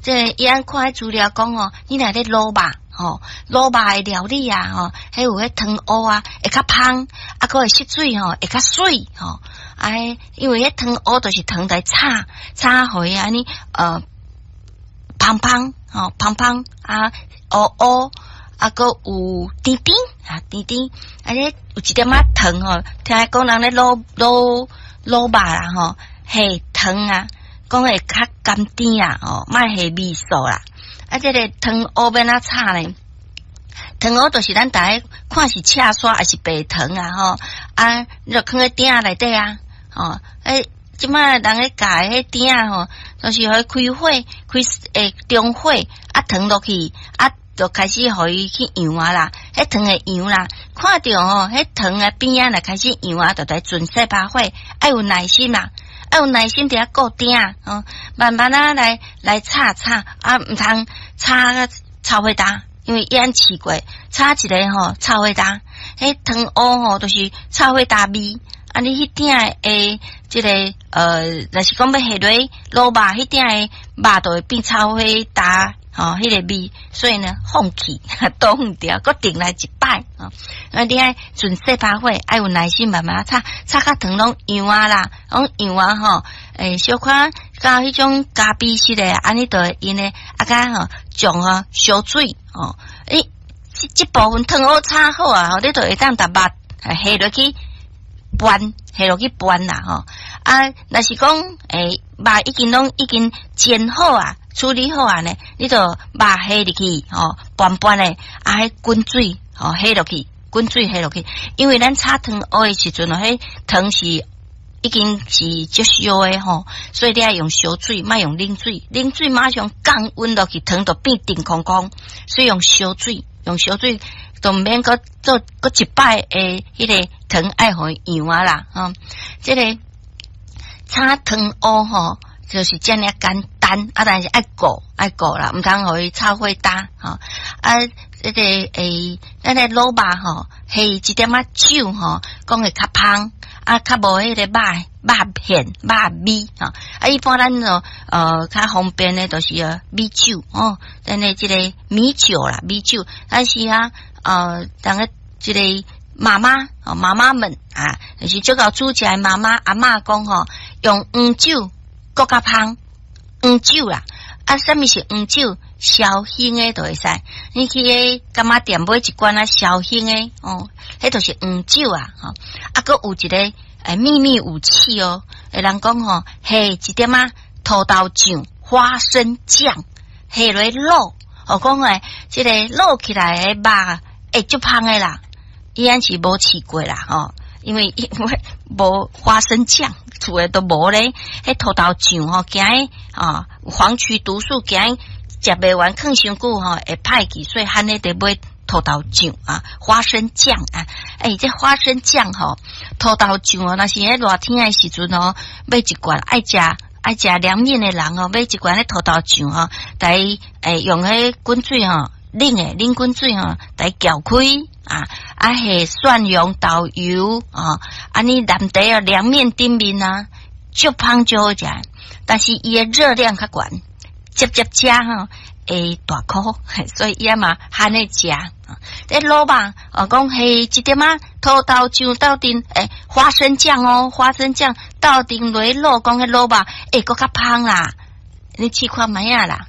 這伊按看彼資料講哦，你若咧滷肉吼，滷肉的料理啊吼，彼有彼糖烏啊，會較芳，啊，閣會色水吼，會較媠吼。啊，因為彼糖烏就是糖來炒，炒予伊按呢芳芳吼，芳芳啊，烏烏啊，閣有甜甜啊，甜甜，啊，咧有一點仔糖吼，聽講人咧滷滷滷肉啦吼，下糖啊，講會較甘甜啊，吼，莫下味素啦。啊，這个糖烏欲按怎炒呢？糖烏就是咱逐家看是赤沙抑是白糖啊，吼啊，你就囥佇鼎仔內底啊，吼，欸，這擺人咧教的彼鼎仔吼，就是予伊開火，開中火，啊糖落去，啊就開始予伊去溶啊啦，彼糖會溶啦，看著吼，彼糖的邊仔若開始溶啊，就來轉細把火，愛有耐心啦，愛有耐心佇遐顧鼎仔，吼，慢慢仔來來炒炒，啊，毋通炒甲臭火焦，因為伊按試過，炒一个吼臭火焦，彼糖烏吼就是臭火焦味。啊！你彼鼎的這个若是講欲下落滷肉，彼鼎的肉就會變臭火焦，吼，彼个味，所以呢，放棄倒遠掉，閣重來一擺，吼。啊，你愛轉細把火，愛有耐心慢慢炒，炒甲糖攏溶啊啦，攏溶啊吼，欸，小可較彼種咖啡色的，按呢就會用的，啊，佮吼醬啊燒水，吼，欸，這這部分糖烏炒好啊，吼，你就會當共肉下落去。拌下落去拌啦吼，啊，若是講欸，肉已經攏已經煎好啊，處理好啊呢，你就肉下入去吼，拌拌咧，啊，彼滾水吼下落去，滾水下落去，因為咱炒糖烏的時陣哦，彼糖是已經是足燒的吼，所以你愛用燒水，莫用冷水，冷水馬上降溫落去，糖就變甜空空，所以用燒水，用燒水。都毋免閣做閣一擺的彼个糖愛予伊溶啊啦，吼，這个炒糖烏吼，就是遮爾簡單，啊，但是愛顧愛顧啦，毋通予伊臭火焦，吼，啊，這个欸，咱的滷肉吼，下一點仔酒吼，講會較芳，啊，較無彼個肉肉片肉味，吼，啊，一般咱哦，較方便的就是米酒，吼，咱的這个米酒啦，米酒，但是啊。人个這个媽媽哦，媽媽們啊，就是足𠢕煮食的媽媽阿嬤講吼，用黃酒閣較芳，黃酒啦，啊，啥物是黃酒？紹興的就會使，你去彼柑仔店買一罐仔紹興的哦，彼就是黃酒啊，吼，啊，閣有一個欸秘密武器哦，欸，人講吼，下一點仔土豆醬、花生醬下落滷，哦，講欸，這个滷起來的肉。會足芳的啦，伊按是無試過啦，吼，因為無花生醬，厝的都無咧，彼土豆醬吼，驚啊黃曲毒素驚食袂完，囥傷久吼會歹去，所以罕咧得買土豆醬啊，花生醬啊，欸，這花生醬吼，土豆醬哦，若是咧熱天的時陣哦，買一罐愛食愛食涼麵的人哦，買一罐彼土豆醬吼，來欸用彼滾水吼。冷的冷滾水吼，來攪開啊，啊下蒜蓉豆油啊，按呢淋佇哦涼麵頂面啊，足芳足好食。但是伊的熱量較懸，捷捷食吼會大箍，所以伊嘛罕咧食。這滷肉哦，講下一點仔土豆醬鬥陣，欸，花生醬哦，花生醬鬥陣落滷，講彼滷肉會閣較芳啦。你試看覓仔啦。